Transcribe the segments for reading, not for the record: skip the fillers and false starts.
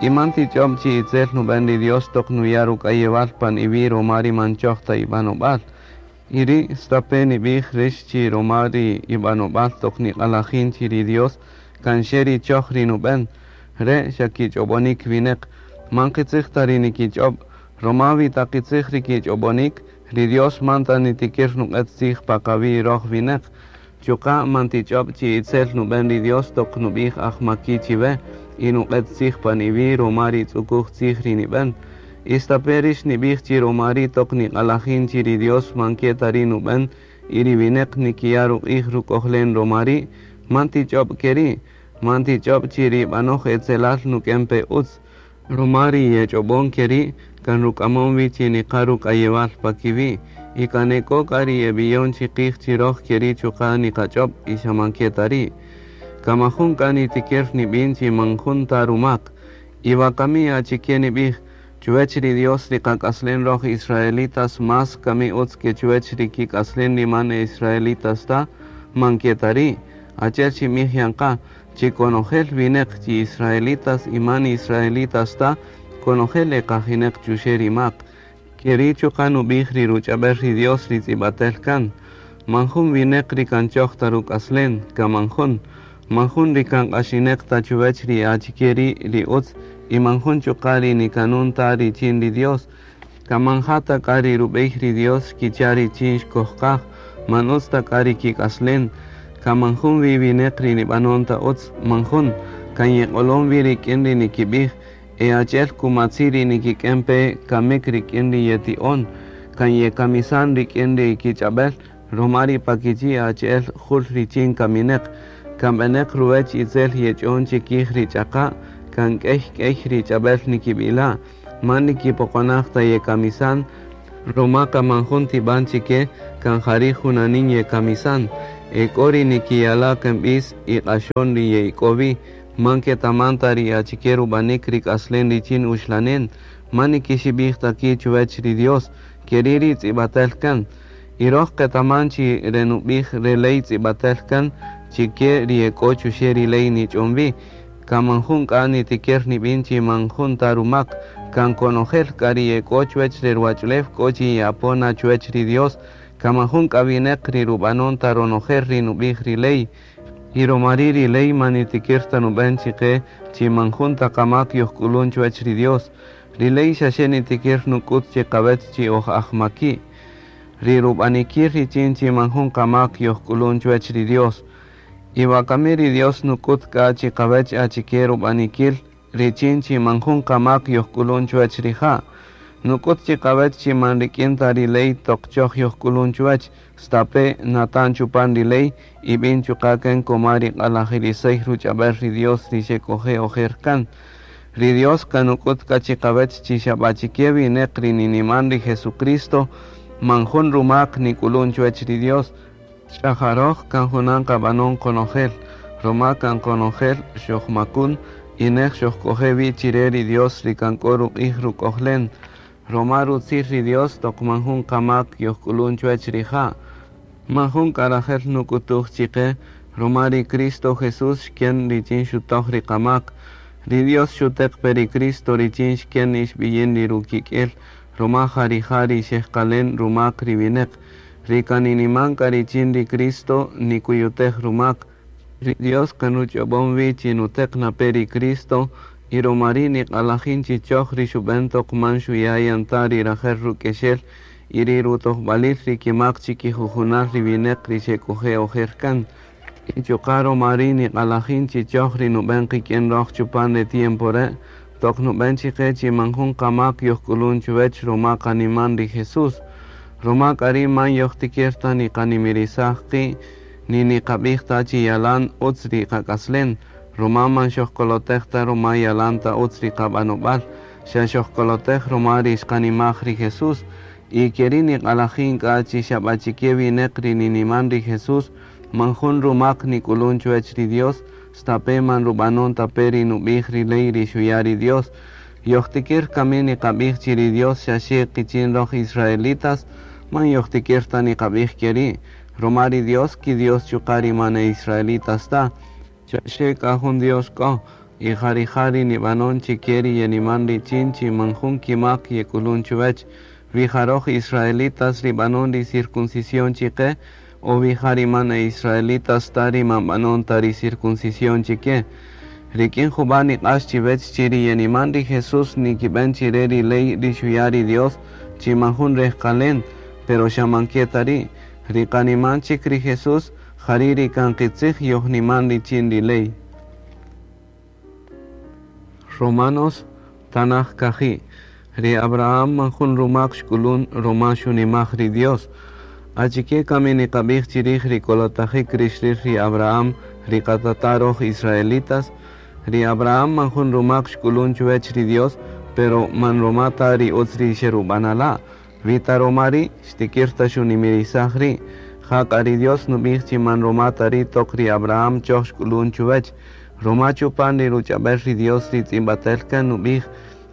Y man tich'ob chi itzel nub'en ri Dios toq nuya' ruk'ayewal pan iwi' ruma ri man choj ta ib'anob'al. Y ri' stape' nib'ij rix chi ruma ri ib'anob'al toq niq'alajin chi ri Dios kan xe ri choj ri nub'en. Re' xa kich'ob'onik wineq. Man qitzij ta ri nikich'ob', ruma wi ta qitzij ri kich'ob'onik, ri Dios man ta nitikir nuq'et tzij pa qawi' roj wineq. Chuqa' man tich'ob' chi itzel nub'en ri Dios toq nub'ij ajmaki' chiwe y nuq'et tzij pan iwi' ruma ri tz'ukuj tzij ri nib'en. Y stape' rix nib'ij chi ruma ri' toq niq'alajin chi ri Dios man ke ta ri' nub'en y ri wineq nikiya' ruq'ij ruk'ojlen ruma ri', man tich'ob' ke ri'. Man tich'ob' chi ri b'anoj etzelal nuk'en pe utz. Ruma ri yech'ob'on ke ri' kan ruk'amon wi chi niqa ruk'ayewal pa kiwi', y kan e k'o k'a ri yeb'iyon chiqij chi roj ke ri' chuqa' niqach'ob' y xa man ke ta ri'. Kan man jun k'a nitikir nib'in chi man jun ta rumak. Y wakami achike nib'ij, Chuwech ri Dios ri qak'aslen roj israelitas más kami utz ke chuwech ri kik'aslen ri man e israelitas ta? Man ke ta ri'. Achi'el xinb'ij yan qa, chi konojel wineq chi israelitas y man israelitas ta, konojel e qajineq chuxe' ri mak. Keri' chuqa' nub'ij ri ruch'ab'el ri Dios ri tz'ib'atel kan, Man jun wineq ri kan choj ta ruk'aslen, kan man jun. Man jun ri kan q'axineq ta chuwech ri achike ri' ri utz y man jun chuqa' ri nikanun ta richin ri Dios. Kan man ja ta k'a ri rub'ey ri Dios xkicha' richin xkojqaj, man utz ta k'a ri kik'aslen. Kan man jun wi wineq ri nib'anon ta utz, man jun. Kan yeq'olon wi rik'in ri nikib'ij, e achi'el kumatzi' ri nikik'en pe kamik rik'in ri yeti'on, kan yekamisan rik'in ri kich'ab'el, roma ri pa kichi' achi'el jul richin kamineq. Kan b'eneq ruwech itzel yech'on chikij ri ch'aqa', kan k'ey k'ey ri ch'ab'el nikib'ila', man nikipoqonaj ta yekamisan, roma kan man jun tib'an chike, kan jari' junanin yekamisan. E k'o ri nikiyala' kan b'is y q'axon ri ye'ik'o wi, man ketaman ta ri achike rub'anik ri k'aslen richin uxlanen, man nikixib'ij ta ki' chuwech ri Dios, keri' ri tz'ib'atel kan. Y roj qetaman chi re nub'ij re ley tz'ib'atel kan chi ke ri e k'o chuxe' ri ley nich'on wi, kan man jun k'a nitikir nib'in chi man jun ta rumak, kan konojel k'a ri e k'o chuwech re ruwach'ulew k'o chi ye'apon na chuwech ri Dios, kan man jun k'a wineq ri rub'anon ta ronojel ri nub'ij ri ley. Y roma ri' ri ley man nitikir ta nub'en chiqe chi man jun ta qamak yojk'ulun chuwech ri Dios. Ri ley xaxe nitikir nuk'ut chiqawech chi oj ajmaki'. Ri rub'anikil richin chi man jun qamak yojk'ulun chuwech ri Dios. Y wakami ri Dios nuk'ut k'a chiqawech achike rub'anikil richin chi man jun qamak yojk'ulun chuwech rija'. Nuk'ut chiqawech chi man rik'in ta ri ley toq choj yojk'ulun chuwech, stape' natan chupan ri ley y b'in chuqa' kan koma ri q'alajirisey ruch'ab'el ri Dios ri xek'oje' ojer kan. Ri Dios kan nuk'ut k'a chiqawech chi xa b'achike wineq ri niniman ri Jesucristo, man jun rumak nik'ulun chuwech ri Dios. Ch'ajaroj kan junan qab'anon qonojel, roma kan qonojel xojmakun y nej xojk'oje' wi chire ri Dios ri kan k'o ruq'ij ruk'ojlen. Roma rutzil ri Dios toq man jun qamak yojk'ulun chuwech rija'. Man jun k'a rajel nuk'utuj chiqe, roma ri Cristo Jesús xken richin xutoj ri qamak. Ri Dios xuteq pe ri Cristo richin xken ixb'iyin ri rukik'el, roma ja rija' ri xejqalen rumak ri wineq. Ri kan niniman k'a richin ri Cristo nikuyutej rumak. Ri Dios kan ruch'ob'on wi chi nuteq na pe ri Cristo, y roma ri' niq'alajin chi choj ri xub'en toq man xuya' yan ta ri rajel ruk'exel y ri rutojb'alil ri kimak chikijujunal ri wineq ri xek'oje' ojer kan. Y chuqa' roma ri' niq'alajin chi choj ri nub'en qik'in roj chupan re tiempo re', toq nub'en chiqe chi man jun qamak yojk'ulun chuwech roma qaniman ri Jesús. Roma k'a ri' man yojtikir ta niqanimirisaj qi' ni niqab'ij ta chi yalan utz ri qak'aslen, roma man xojkolotej ta roma yalan ta utz ri qab'anob'al, xa xojkolotej roma ri xqanimaj ri Jesús. Y keri' niq'alajin k'a chi xa b'achike wineq ri niniman ri Jesús, man jun rumak nik'ulun chuwech ri Dios, stape' man rub'anon ta pe ri nub'ij ri ley ri xuya' ri Dios. Yojtikir kami niqab'ij chi ri Dios xaxe qichin roj israelitas, man yojtikir ta niqab'ij keri', roma ri Dios ki Dios chuqa' ri man e israelitas ta. Xaxe k'a jun Dios k'o, Y ja rija' ri nib'anon chike ri yeniman richin chi man jun kimak yek'ulun chuwech. Wi ja roj israelitas ri b'anon ri circuncisión chike, o wi ja ri man e israelitas ta ri man b'anon ta ri circuncisión chike. Rik'in jub'a' niq'ax chiwech chi ri yeniman ri Jesús nikib'en chire ri ley ri xuya' ri Dios chi man jun rejqalen, pero xa man ke ta ri'. Ri qaniman chik ri Jesús, jari' ri kan qitzij yojniman richin ri ley. Romanos tanaj kaji'. Ri Abraham man jun rumak xk'ulun roma xunimaj ri Dios. Achike kami niqab'ij chirij ri kolotajik ri xril ri Abraham ri qatata' roj israelitas. Ri Abraham man jun rumak xk'ulun chuwech ri Dios, pero man roma ta ri utz ri xerub'anala'. Wi ta roma ri' xtikir ta xunimirisaj ri'. Jak'a ri Dios nub'ij chi man roma ta ri' toq ri Abraham choj xk'ulun chuwech. Roma chupan ri ruch'ab'el ri Dios ri tz'ib'atel kan nub'ij,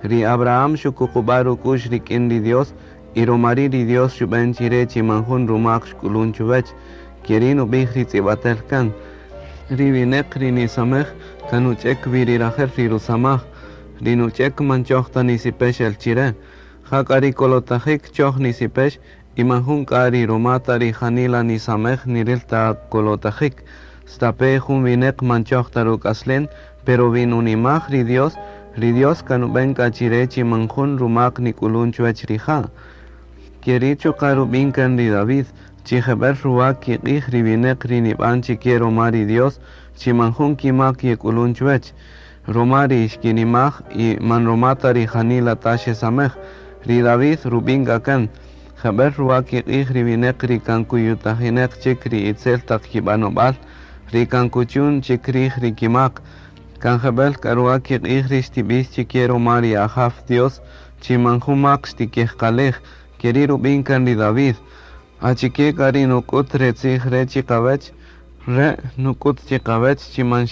ri Abraham xukuqub'a' ruk'u'x rik'in ri Dios, y roma ri' ri Dios xub'en chire chi man jun rumak xk'ulun chuwech. Keri' nub'ij ri tz'ib'atel kan. Ri wineq ri nisamej kan nuch'ek wi ri rajel ri rusamaj. Ri nuch'ek man choj ta nisipex el chire. Jak'a ri kolotajik choj nisipex y man jun k'a ri roma ta ri janila nisamej niril ta kolotajik. Stape jun wineq man choj ta ruk'aslen, pero wi nunimaj ri Dios, ri Dios kan nub'en k'a chire chi man jun rumak nik'ulun chuwech rija'. Keri' chuqa' rub'in kan ri David, chi jeb'el ruwa kiq'ij ri wineq ri nib'an chike roma ri Dios, chi man jun kimak yek'ulun chuwech. Roma ri xkinimaj y man roma ta ri janila ta xesamej. Ri David rub'in k'a kan, jeb'el ruwa kiq'ij ri wineq ri kan kuyutajineq chik ri itzel taq kib'anob'al, ri kan kuchun chik rij ri kimak. Kan jeb'el k'a ruwa kiq'ij ri xtib'ix chike roma ri Ajaw Dios, chi man jun mak xtikejqalej. Keri' rub'in kan ri David. Achike k'a ri nuk'ut re tzij re chiqawech, re' nuk'ut chiqawech chi man